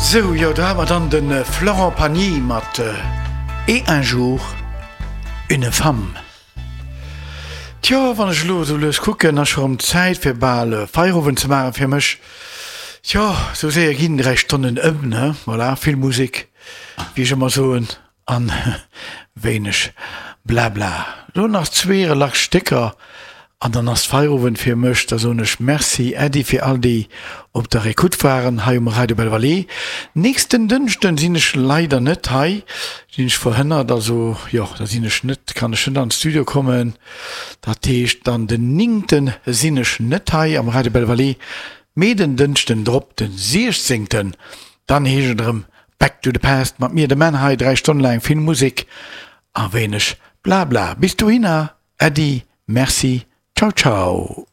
Sou, jo, do hat mer dann de Florent Pagny mat Et un jour, une femme. Tjo, wann ech elo esou lues kucken, ass scho rëm Zäit fir bal Feierowend ze maachen fir mech. Tjo, esou séier ginn 3 Stonnen ëm, ne? Voilà, vill Musek, wéi ech ëmmer soen, an wéineg Blabla. Elo nach zwee relax Stécker An dann ass Feierowend fir mech. Da soen ech Merci Äddi fir all déi op der Ecoute waren hei um Radio Belval. Nächsten Dënschden sinn ech leider net hei, sinn ech verhënnert, also jo da sinn ech net, kann ech net an d'Studio kommen. Dat heescht dann den néngten sinn ech net hei am Radio Belval, mee den Dënschden drop, den siechzéngten, dann heescht et erëm Back to the Past mat mir, dem Menn hei, 3 Stonne laang vill Musek a wéineg Blabla. Bis dohinner. Äddi, Merci, ciao ciao.